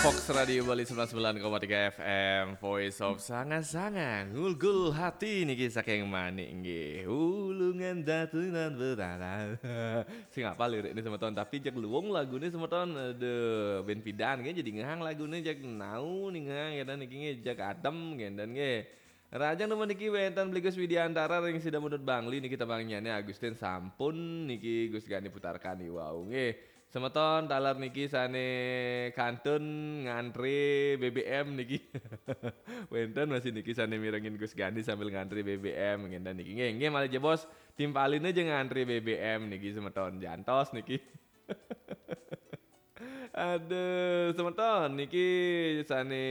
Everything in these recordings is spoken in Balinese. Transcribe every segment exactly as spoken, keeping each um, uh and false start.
Fox Radio Bali sembilan sembilan koma tiga F M, Voice of Sanga-Sanga, ngulgul hati niki saking Manik nggih. Ulungan datunan berada. Sing apa lirik ini semeton, tapi jak luwung lagu ini semeton, aduh, ben pidan nggih, jadi ngehang lagu ini jak nau nih ngehang, ya, dan niki nggih jak adem nggih, dan nggih. Rajang temen niki wenten Beli Gus Widiantara ring sida mundut Bangli niki tembangnyane Agustin sampun niki Gus Gani putarkan iwau nggih. Semeton taler niki sane kantun ngantri B B M niki. Wenten masih niki sane mirengin Gus Gani sambil ngantri B B M ngenten niki. Nggih, nggih malih jebos timpaline aja ngantri B B M niki semeton jantos niki. Aduh, semeton niki sane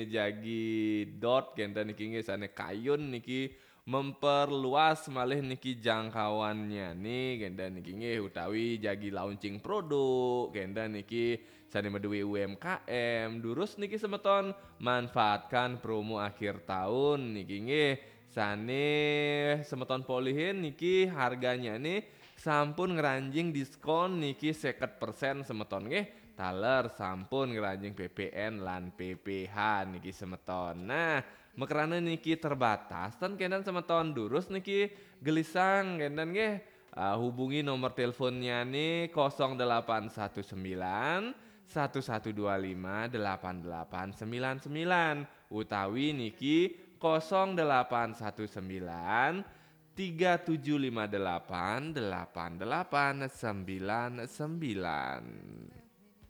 jagi dot kenten niki nggih sane kayun niki memperluas malih niki jangkauannya nih kenten niki nggih utawi jagi launching produk kenten niki sane meduwe U M K M durus niki semeton manfaatkan promo akhir tahun niki nggih sane semeton polihin niki harganya nih sampun ngranjing diskon niki seket persen semeton nggih. Taler sampun ngranjing P P N lan P P H niki semeton. Nah, mekrana niki terbatas ten kenten semeton durus niki gelisang kenten nggih. Ah, hubungi nomor teleponnya nih kosong delapan satu sembilan satu satu dua lima delapan delapan sembilan sembilan utawi niki kosong delapan satu sembilan tiga tujuh lima delapan delapan delapan sembilan sembilan.